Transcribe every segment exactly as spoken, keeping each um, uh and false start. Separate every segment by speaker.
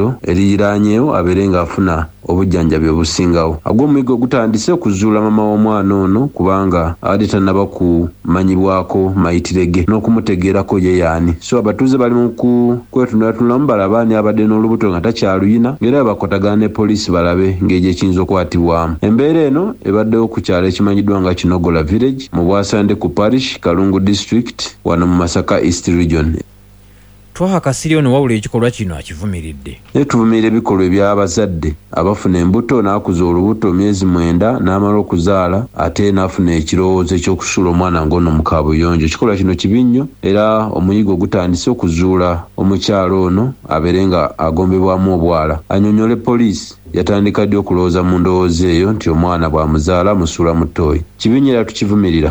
Speaker 1: Eddwaliro eriraanyeewo abeere ng'afuna obujjanjabi obusingawo. Agw'omuyiggo gutandise okuzuula maama w'omwana ono kubanga abadde tannaba kumanyibwako mayitire ge n'okumutegeerako ye y'ani. So abatuuze bali mu kwetunulatunulamu balabe ani abadde n'olubuto nga takyaluyina, ng'era bakwatagana ne poliisi balabe ng'egyo ekiyinza okukwatibwamu. Embeera eno ebaddewo ku kyalo ekimanyiddwa nga Kinogola Village mu Bwasande ku Parish, Kalungu District, wano mu Masaka East Region.
Speaker 2: Twaha Kasirye ono wabula ekikolwa kino akivumiridde.
Speaker 1: Naye tuvumirira ebikolwa eby'abazadde abafuna embuto n'akuza olubuto myezi mwenda n'amala okuzaala ate n'afuna ekirowoozo eky'okusuula omwana ng'ono mu kaabuyonjo. Ekikolwa kino kibi nnyo era omuyigo gutandise okuzuula omukyala ono abeere nga agombebwamu obwala. Annyonnyole poliisi yatandika ddi okulowooza mu ndowooza eyo nti omwana bw'amuzaala amusuula mu ttooyi. Kibi nnyo era tukivumirira.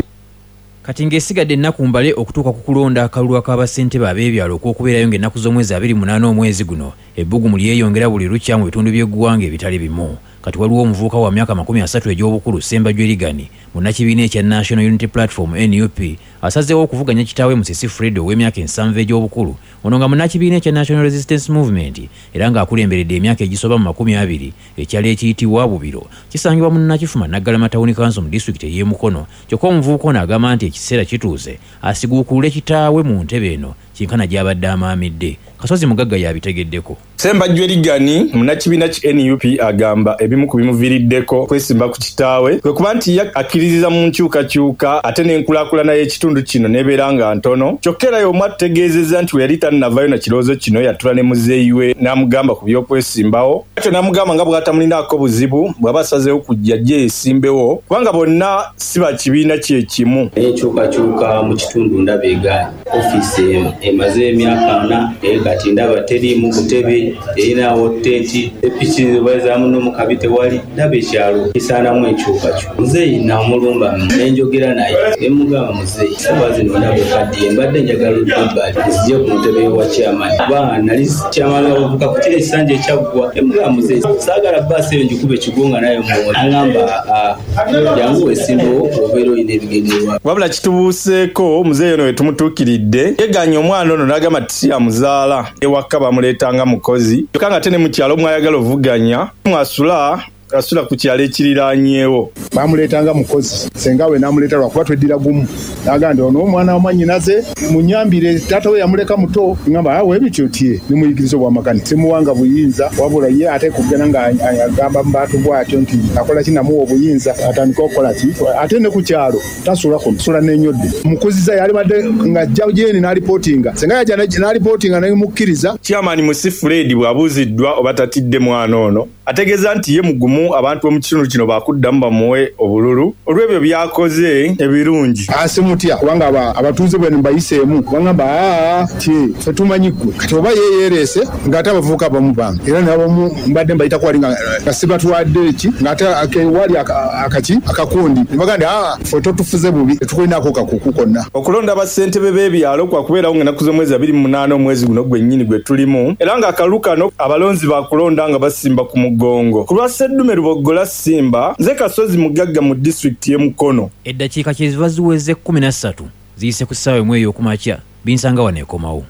Speaker 2: Kati ng'esigadde ennaku mbale okutuuka ku kulonda akalulu ak'abassentebe ab'ebyalo okw'okubeerayo ng'ennaku z'omwezi abiri munaana omwezi guno, ebbugumu lyeyongera buli lukya mu bitundu by'eggwanga ebitali bimu. Kati waliwo omuvubuka wa myaka makumi asatu egy'obukulu Ssembajjwe Ligani munnakibiina ekya National Unity Platform N U P asazeewo okuvuganya kitaawe Musisi Fred ow'emyaka ensanvu egy'obukulu, ono nga munnakibiina ekya National Resistance Movement era ng'akulemberedde emyaka egisoba mu makumi abiri ekyalo ekiyitibwa Bubiro kisangibwa mu Nakifuma Naggalama Town Council mu disitulikiti ey'e Mukono. Kyokka omuvubuka ono agamba nti ekiseera kituuse asiguukulule kitaawe mu ntebe eno kinkana gy'abadde amaamidde. Kasozi Mugagga y'abitegeddeko.
Speaker 3: Ssembajjwe Ligani munnakibiina ki N U P agamba ebimu ku bimuviiriddeko kwesimba ku kitaawe kwe kuba nti ye akkiririza mu nkyukakyuka ate n'enkulaakulana y'ekitundu kino n'ebeera nga ntono. Kyokka era y'omu atutegeezezza nti we yali tannavaayo na kirowoozo kino yatula ne muzeeyi we n'amugamba ku by'okwesimbawo, atyo n'amugamba nga bw'atamulinaako buzibu bw'aba asazeewo kujja ajje yeesimbewo kubanga bonna si ba kibiina kye kimu.
Speaker 4: Enkyukakyuka mu kitundu ndaba egaanye. Ofiisi emaze emyaka ana naye kati ndaba teriimu butebe, terinawo tenti, epiki bazaamu n'omukabi tewali. Ndaba ekyalo kisaanamu enkyukakyuka. Muzeeyi namulumba ne njogera naye ne mugamba, muzeeyi ssaawa zino ndaba okaddiye, mbadde njagala odde ebbali nzije ku ntebe wa chairman kuba nali chairman w'abavubuka ku kiro ekisanja ekyaggwa. Ne mugamba, muzeeyi saagala bbaasi eyo ngikube kigwo nga nayo muwona. Angamba, jangu weesimbewo obeera olina ebigendererwa.
Speaker 3: Wabula kitubuuseeko muzeeyi ono we tumutuukiridde yegaanye omwana ono n'agamba nti si amuzaala, ewaka bamuleetanga mukozi, kyokka nga ate ne mu kyalo mwayagala ovuganya mwasula asula ku kyalo ekiriraanyeewo.
Speaker 5: Bamuleetanga mukozi, ssenga we n'amuleeta lwakuba tweddira gumu, n'agamba nti ono omwana wa mwannyinaze munyambire, taata we yamuleka muto. Ngamba awo ebityo tye nimuyigiriza obwamagani, simuwanga buyinza, wabula ye ate kugenda nga agamba mu bantu bw'atyo nti akola ki, namuwa obuyinza atandike okukola ki, ate ne ku kyalo tasula kuno, sula n'ennyodde. Mukuziza yalibadde ng'ajja gyeni n'alipootinga, ssenga yajja n'alipootinga nemukkiriza.
Speaker 3: Chairman Musi Fred bw'abuuziddwa oba tatidde mwana ono ategeeza nti ye mugumu, abantu b'omu kitundu kino baakuddamu bamuwe obululu olw'ebyo by'akoze ebirungi.
Speaker 5: Asimutya kubanga abatuuze bwe mbayiseemu bagamba aa tye ffe tumanyi ggwe, kati oba ye yeereese ng'ate abavubuka abamu bange era n'abamu mbadde mbayitako wali nga sibatwadde ki ng'ate wali akaki akakundi ne bagamba nti aa ffe totufuze bubi tetukulinaako kakuku konna.
Speaker 3: Okulonda bassentebe b'ebyalo kwakubeerawo ng'ennaku z'omwezi abiri mu munaana omwezi guno gwennyini gwe tulimu, era ng'akalulu kano abalonzi baakulonda nga basimba ku mugongo. Ku lwa Sseddume Luboggola Simba, nze Kasozi Mugagga mu disitulikiti y'e Mukono.
Speaker 2: Eddakiika kye ziva ziweze kkumi na ssatu ziyise ku ssaawa emu ey'okumakya, binsanga wano ekomawo.